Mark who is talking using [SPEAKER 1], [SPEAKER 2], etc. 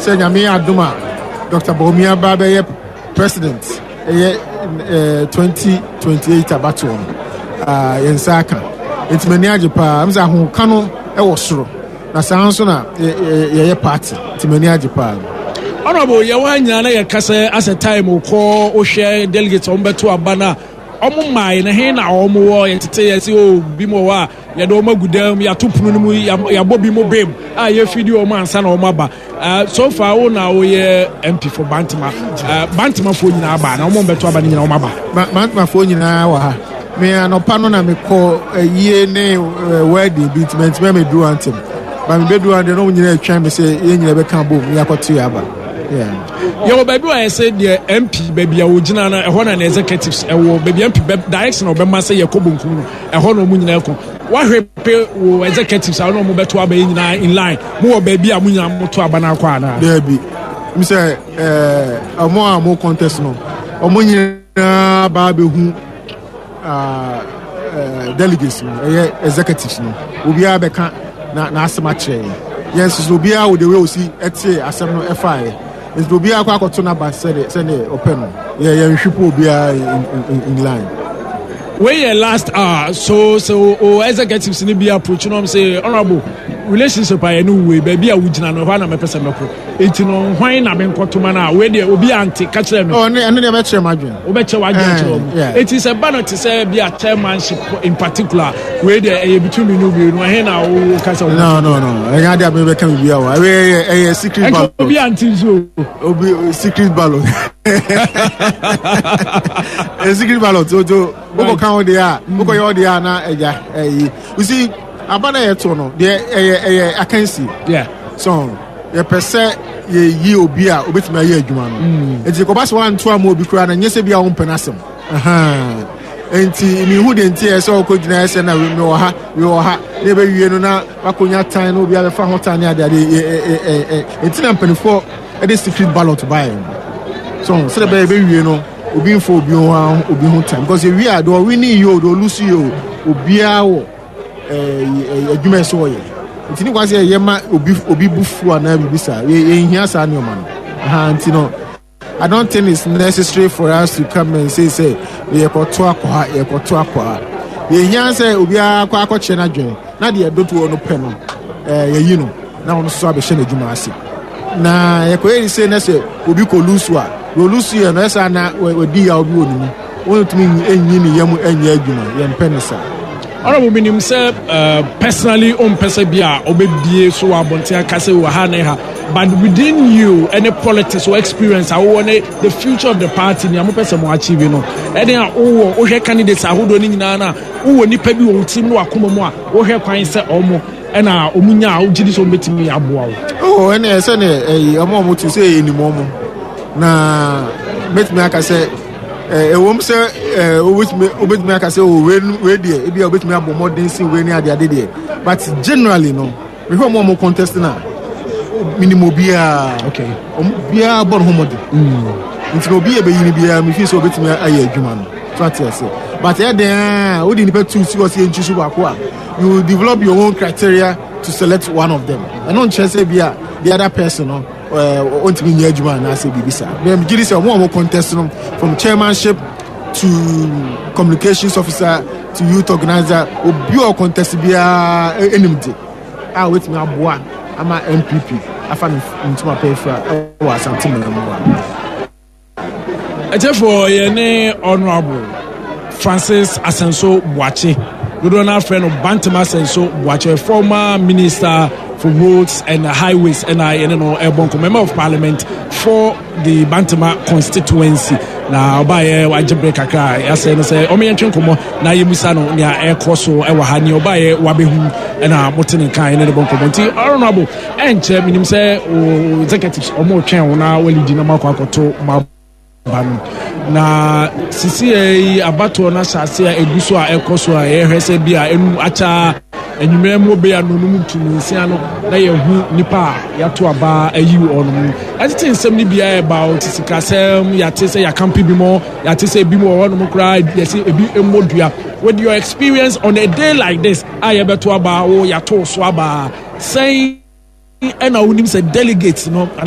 [SPEAKER 1] Sɛ Nyame yɛ adom a, Dr. Bawumia ba bɛyɛ president ɛyɛ 2028 abatoɔ no, yɛn nsa aka. Nti m'ani agye paa. M sɛ ahoka no ɛwɔ soro. Na saa nso na yɛyɛ party. Nti m'ani agye paa.
[SPEAKER 2] Honorable, yɛwɔ ha nyinaa na yɛka sɛ asɛ time kɔ wohwɛ delegates wɔn bɛto aba no a wɔn mmae no he na wɔn wɔ yɛtete yɛ sɛ o bi mu wɔ hɔ a yɛde wɔn agu dan mu, yɛato pono no mu, yɛabɔ bi mu bem a yɛfidi wɔn ansa na wɔn aba. So far wo na woyɛ MP for Bantama. Bantamafoɔ nyinaa aba na wɔn bɛto aba no nyinaa wɔn aba.
[SPEAKER 1] Bantamafoɔ nyinaa wɔ ha. Me anɔpa no na mekɔ ayie ne wedding bi nti mantumi amɛduru ha ntɛm. Ba mebɛduru ha deɛ na wɔn nyinaa atwɛn me sɛ yɛn nyinaa bɛka bom na yɛakɔto yɛ aba.
[SPEAKER 2] Yɛwɔ baabi a yɛsɛ deɛ MP baabi a wɔgyina no ɛhɔ na na executives ɛwɔ baabi MP direction a ɔbɛma sɛ yɛkɔ bonkum no ɛhɔ na wɔn nyinaa kɔ. Wahwɛ pe wo executives a wɔn a wɔbɛto aba yi nyinaa in line mo wɔ baabi a mo nyinaa mo to aba no akɔ anaa.
[SPEAKER 1] Daabi m sɛ ɛɛ wɔn a wɔn contest no wɔn nyinaa ba abɛhu delegates no ɛyɛ executives no obiara bɛka na n'asɛm akyerɛ yɛn yɛn nso so obiara wɔ the way osi ɛte asɛm no ɛfaeɛ nti obiara kɔ akɔto n'aba sɛdeɛ sɛdeɛ ɔpɛ no yɛ yɛn nhwipo obiara in line.
[SPEAKER 2] Wei yɛ last hour so so o executives ni bi approach no sɛ honourable relationship a yɛne wei baabi a wogyina no ɛhɔ a na mɛpɛ sɛ mɛkɔ eti no hwan na menkɔtoma no a wei deɛ obi ante ka kyerɛ me.
[SPEAKER 1] Ɔ ne ɛno deɛ mɛkyerɛ m'adwene.
[SPEAKER 2] Wobɛkyɛ w'adwene akyerɛ wɔn. Eti sɛ ba no te sɛ bi a chairmanship in particular wei deɛ ɛyɛ between me no mmienu ɛhe na wo ka sɛ.
[SPEAKER 1] No no no ɛnyɛ adeɛ a mebɛka biribi a wɔ ɛyɛ ɛyɛ secret ballot.
[SPEAKER 2] Ɛnka obi ante nso.
[SPEAKER 1] Obi secret ballot. A secret ballot o to wokɔ ka wo deɛ a wokɔ yɛ wo deɛ a na ɛgya ɛyi you see aba na yɛto no deɛ ɛyɛ ɛyɛ akansi.
[SPEAKER 2] Yeah.
[SPEAKER 1] So yɛpɛ sɛ yɛyi obi a obetumi ayɛ adwuma no mm. nti kɔba sɛ wanto ama obi koraa na nyɛ sɛ bi a wompɛ no asɛm nti mehu deɛ nti ɛsɛ ɔkɔ gyina ɛsɛ na mewɔ ha mewɔ ha na ɛbɛwie no na wakɔnya tan na obi abɛfa ho tan ne adeade nti na mpanimfoɔ de secret ballot baeɛ no so sɛdeɛ bɛyɛ ɛbɛwie no obi mfa obi ho obi ho tan because ewie a deɛ ɔwini yie o deɛ ɔlusu yie o obiara wɔ adwuma ɛsɛ ɔyɛ nti ne kwan sɛ yɛyɛ ma obi obi bu fu anaa biribi saa yɛnhia saa nneɛma no ha nti no I don't think it's necessary for us to come and say say yɛkɔto akɔ ha yɛkɔto akɔ ha yɛhia sɛ obiara kɔ akɔkyerɛ n'adwene na deɛ dodoɔ no pɛ no yɛyi no na ɔno nso abɛhyɛ n'adwuma ase na yɛkɔyɛ ne sei na sɛ obi kɔ lusu a deɛ olusu yɛ no ɛsɛ na wadi yaw bi wɔ ne mu wɔntumi nyi ne yam nyɛ adwuma yɛmpɛ ne saa.
[SPEAKER 2] Honorable menim sɛ personally ɔmpɛ sɛ bi a ɔbɛbie so wɔ abɔnten aka sɛ wɔ ha ne ha but within you any politics or experience a wowɔ ne the future of the party nea mopɛ sɛ mo achieve no ɛne a wowɔ wohwɛ candidates ahodoɔ no nyinaa no a wowɔ nipa bi wɔ wo tirim ne wakoma mu a wohwɛ kwan sɛ ɔmo ɛna ɔmo nya a wogye di sɛ ɔmo bɛtumi aboa wo.
[SPEAKER 1] Oh, ɛne ɛsɛ ne ɛyi ɔmo a ɔmo tu sɛ ɛnim ɔmo na mɛtumi aka sɛ ɛwom sɛ wobɛtumi wobɛtumi aka sɛ oh wei wei deɛ ebi a wobɛtumi abɔ mmɔden si wei ne ade ade deɛ but generally no mehwɛ ɔmo a ɔmo contest na minim obiara
[SPEAKER 2] okay
[SPEAKER 1] ɔmo biara bɔ ne ho mmɔden nti na obi yɛ bɛyi no biara mefi sɛ obɛtumi ayɛ adwuma no so ate ase but ɛyɛ den a wode nipa tu si hɔ sɛ yɛnkyi so baako a you develop your own criteria to select one of them ɛno nkyerɛ sɛ bi a the other person no ɔntumi nyɛ adwuma anaasɛ biribi saa megye di sɛ ɔmo a ɔmo contest no from chairmanship to communications officer to youth organizer obi a ɔcontest biara anim de a obetumi aboa ama NPP afa ne ntoma pɛ afira wɔ Asante man mu a.
[SPEAKER 2] Ɛkyɛfoɔ yɛ ne Honourable Francis Asenso Boakye dodoɔ no afrɛ no Bantam Asenso Boakye former minister for roads and highways ɛna yɛne no ɛbɔ nkɔmmɔ member of parliament for the Bantama constituency na ɔbaeɛ wagye bere kakra a yɛasɛ no sɛ ɔmo yɛntwe nkɔmmɔ na yɛmusa no nea ɛkɔ so ɛwɔ ha nea ɔbaeɛ wabɛhu ɛna mote ne nka ɛne ne bɔ nkɔmmɔ nti honorable ɛnkyɛ menim sɛ executives ɔmo twɛn wo na walidi na moakɔ akɔto ma ba no na sisi yi abatoɔ no ahyɛ ase a ɛgu so a ɛkɔ so a yɛhwɛ sɛ bi a ɛnu akyɛ anwummerɛ mu bɛyɛ anonum tumi nsia no na yɛhu nipa a yɛato aba ayi wɔn mu ɛtete nsɛm no biara ɛba o te sikasɛm yɛate sɛ yɛakampe bi mu yɛate sɛ ebi mu wɔ hɔnom koraa yɛsɛ ebi mmɔ dua. With your experience on a day like this a yɛbɛto aba wo yɛato so aba sɛn ɛna wonim sɛ delegates no.